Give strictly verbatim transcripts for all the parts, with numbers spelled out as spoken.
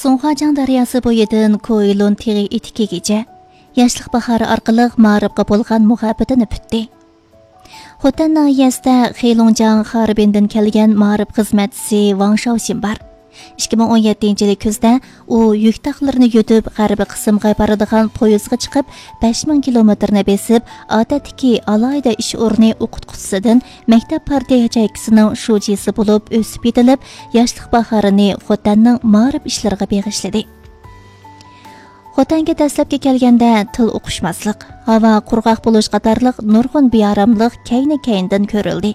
سۇڭخۇاجياڭ دەرياسى بويىدىن كوئىلۇن تېغى ئېتىكىگىچە ياشلىق باھارى ئارقىلىق مائارىپقا بولغان مۇھەببىتىنى پۈتتى. خوتەن ناھىيەسىدە خېلۇڭجياڭ خاربىندىن كەلگەن مائارىپ خىزمەتچىسى ۋاڭ شاۋشىن بار. ئىككى مىڭ ئون يەتتىنچى يىلى كۈزدە ئۇ يۈك تاقلىرىنى يۈدۈپ، غەربىي قىسىمغا بارىدىغان پويىزغا چىقىپ، بەش مىڭ كىلومېتىرنى بېسىپ، ئادەتتىكى ئالاھىدە ئىش ئورنى ئوقۇتقۇچىسىدىن مەكتەپ پارتىيە ياچېيكىسىنىڭ شۇجىسى بولۇپ ئۆسۈپ يېتىلىپ، ياشلىق باھارىنى خوتەننىڭ مائارىپ ئىشلىرىغا بېغىشلىدى. خوتەنگە دەسلەپكى كەلگەندە تىل ئۇقۇشماسلىق، ھاۋا قۇرغاق بولۇش قاتارلىق نۇرغۇن بىئاراملىق كەينى-كەينىدىن كۆرۈلدى.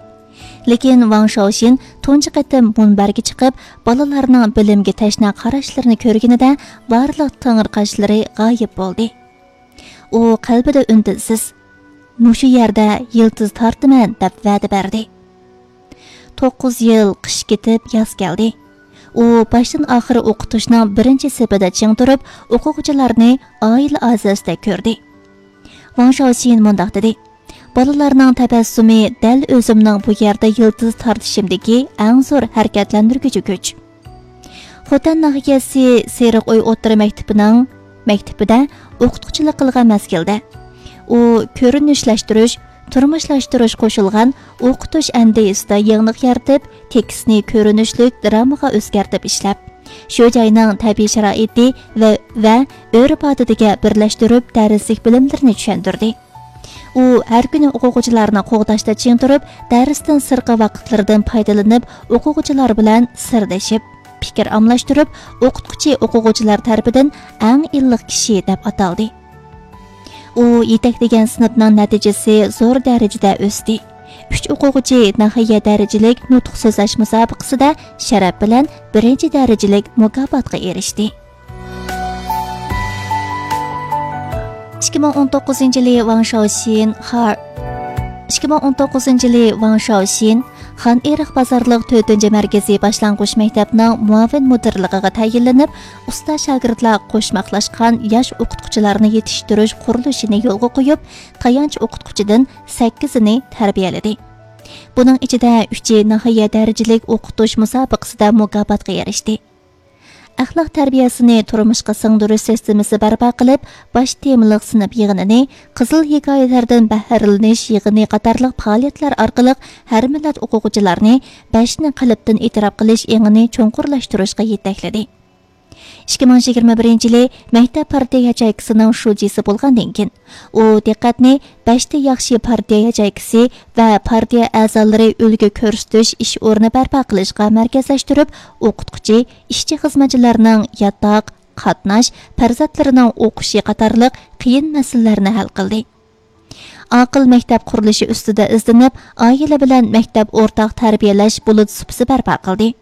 لېكىن ۋاڭ شاۋشىن تۇنجى قېتىم مۇنبەرگە چىقىپ، بالىلارنىڭ بىلىمگە تەشنا قاراشلىرىنى كۆرگىنىدە بارلىق تېڭىرقاشلىرى غايىب بولدى. ئۇ قەلبىدە ئۈندىنسىز، «مۇشۇ يەردە يىلتىز تارتىمەن» دەپ ۋەدە بەردى. توققۇز يىل قىش كېتىپ، ياز كەلدى. ئۇ باشتىن ئاخىر ئوقۇتۇشنىڭ بىرىنچى سېپىدە چىڭ تۇرۇپ، ئوقۇغۇچىلارنى ئائىلە ئەزاسىدەك كۆردى. ۋاڭ شاۋشىن مۇنداق دېدى: «بالىلارنىڭ تەبەسسۇمى دەل ئۆزۈمنىڭ بۇ يەردە يىلتىز تارتىشىمدىكى ئەڭ زور ھەرىكەتلەندۈرگۈچى كۈچ.» خوتەن ناھىيەسى سېرىق ئۆي ئوتتۇرا مەكتىپىنىڭ مەكتىپىدە ئوقۇتقۇچىلىق قىلغان مەزگىلدە، ئۇ كۆرۈنۈشلەشتۈرۈش، تۇرمۇشلاشتۇرۇش قوشۇلغان ئوقۇتۇش ئەندىزىسىدە يېڭىلىق يارىتىپ، تېكىستنى كۆرۈنۈشلۈك درامىغا ئۆزگەرتىپ ئىشلەپ، شۇ جاينىڭ تەبىئىي شارائىتى ۋە، ۋە ئۆرپ-ئادىتىگە بىرلەشتۈرۈپ، دەرسلىك بىلىملىرىنى چۈشەندۈردى. ئۇ ھەر كۈنى ئوقۇغۇچىلارنى قوغداشتا چىڭ تۇرۇپ، دەرستىن سىرتقى ۋاقىتلىرىدىن پايدىلىنىپ، ئوقۇغۇچىلار بىلەن سىردىشىپ، پىكىر ئالماشتۇرۇپ، ئوقۇتقۇچى ئوقۇغۇچىلار تەرىپىدىن ئەڭ ئىللىق كىشى دەپ ئاتالدى. ئۇ يېتەكلىگەن سىنىپنىڭ نەتىجىسى زور دەرىجىدە ئۆستى. ئۈچ ئوقۇغۇچى ناھىيە دەرىجىلىك نۇتۇق سۆزلەش مۇسابىقىسىدە شەرەپ بىلەن بىرىنچى دەرىجىلىك مۇكاپاتقا ئېرىشتى. ئىككى مىڭ ئون توققۇزىنچى يىلى ۋاڭ شاۋشىن خار-، ئىككى مىڭ ئون توققۇزىنچى يىلى ۋاڭ شاۋشىن خان ئېرىق بازارلىق تۆتىنچى مەركىزىي باشلانغۇچ مەكتەپنىڭ مۇئاۋىن مۇدىرلىقىغا تەيىنلىنىپ، ئۇستا شاگىرتلار قوشماقلاشقان ياش ئوقۇتقۇچىلارنى يېتىشتۈرۈش قۇرۇلۇشىنى يولغا قويۇپ، تايانچ ئوقۇتقۇچىدىن سەككىزىنى تەربىيەلىدى. بۇنىڭ ئىچىدە ئۈچى ناھىيە دەرىجىلىك ئوقۇتۇش مۇسابىقىسىدە مۇكاپاتقا ئېرىشتى. ئەخلاق تەربىيەسىنى تۇرمۇشقا سىڭدۈرۈش سىستېمىسى بەرپا قىلىپ، باش تېمىلىق سىنىپ يىغىنىنى، قىزىل ھېكايىلەردىن بەھرىلىنىش يىغىنى قاتارلىق پائالىيەتلەر ئارقىلىق ھەر مىللەت ئوقۇغۇچىلارنى بەشنى قەلبتىن ئېتىراپ قىلىش ئېڭىنى چوڭقۇرلاشتۇرۇشقا يېتەكلىدى. ئىككى مىڭ يىگىرمە بىرىنچى يىلى مەكتەپ پارتىيە ياچېيكىسىنىڭ شۇجىسى بولغاندىن كېيىن، ئۇ دىققەتنى بەشتە ياخشى پارتىيە ياچېيكىسى ۋە پارتىيە ئەزالىرى ئۈلگە كۆرسىتىش ئىش ئورنى بەرپا قىلىشقا مەركەزلەشتۈرۈپ، ئوقۇتقۇچى، ئىشچى خىزمەتچىلەرنىڭ ياتاق، قاتناش، پەرزەنتلىرىنىڭ ئوقۇشى قاتارلىق قىيىن مەسىلىلەرنى ھەل قىلدى. ئاقىل مەكتەپ قۇرۇلۇشى ئۈستىدە ئىزدىنىپ، ئائىلە بىلەن مەكتەپ ئورتاق تەربىيەلەش بۇلۇت سۇپىسى بەرپا قىلدى.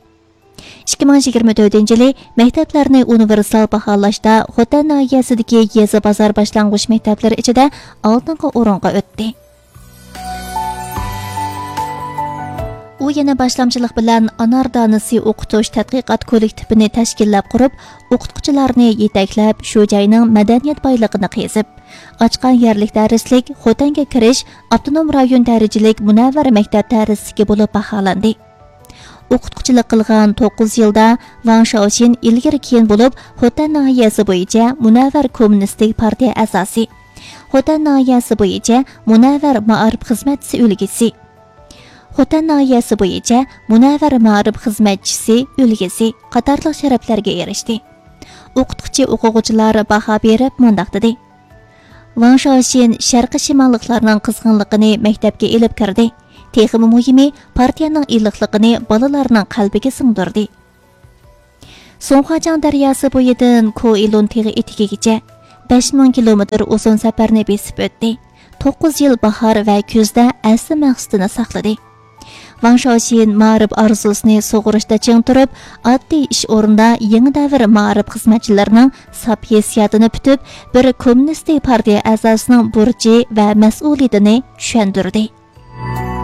ئىككى مىڭ يىگىرمە تۆتىنچى يىلى مەكتەپلەرنى ئۇنىۋېرسال باھالاشتا خوتەن ناھىيەسىدىكى يېزا بازار باشلانغۇچ مەكتەپلىرى ئىچىدە ئالدىنقى ئورۇنغا ئۆتتى. ئۇ يەنە باشلامچىلىق بىلەن ئانار دانىسى ئوقۇتۇش تەتقىقات كوللېكتىپىنى تەشكىللەپ قۇرۇپ، ئوقۇتقۇچىلارنى يېتەكلەپ، شۇ جاينىڭ مەدەنىيەت بايلىقىنى قېزىپ، ئاچقان يەرلىك دەرسلىك خوتەنگە كىرىش ئاپتونوم رايون دەرىجىلىك مۇنەۋۋەر مەكتەپ دەرسلىكى بولۇپ باھالاندى. ئوقۇتقۇچىلىق قىلغان توققۇز يىلدا ۋاڭ شاۋشىن ئىلگىرى كېيىن بولۇپ، خوتەن ناھىيەسى بويىچە مۇنەۋۋەر كوممۇنىستىك پارتىيە ئەزاسى، خوتەن ناھىيەسى بويىچە مۇنەۋۋەر مائارىپ خىزمەتچىسى ئۈلگىسى، خوتەن ناھىيەسى بويىچە مۇنەۋۋەر مائارىپ خىزمەتچىسى ئۈلگىسى قاتارلىق شەرەپلەرگە ئېرىشتى. ئوقۇتقۇچى ئوقۇغۇچىلار باھا بېرىپ مۇنداق دېدى: ۋاڭ شاۋشىن شەرقىي شىماللىقلارنىڭ قىزغىنلىقىنى مەكتەپكە ئېلىپ كىردى. تېخىمۇ مۇھىمى، پارتىيەنىڭ ئىللىقلىقىنى بالىلارنىڭ قەلبىگە سىڭدۈردى. سۇڭخۇاجياڭ دەرياسى بويىدىن كوئىلۇن تېغى ئېتىكىگىچە بەش مىڭ كىلومېتىر ئۇزۇن سەپەرنى بېسىپ ئۆتتى. توققۇز يىل باھار ۋە كۈزدە ئەسلى مەقسىتىنى ساقلىدى. ۋاڭ شاۋشىن مائارىپ ئارزۇسىنى سۇغۇرۇشتا چىڭ تۇرۇپ، ئاددىي ئىش ئورنىدا يېڭى دەۋر مائارىپ خىزمەتچىلىرىنىڭ ساپ ھېسسىياتىنى پۈتۈپ، بىر كوممۇنىستىك پارتىيە ئەزاسىنىڭ بۇرچى ۋە مەسئۇلىيىتىنى چۈشەندۈردى.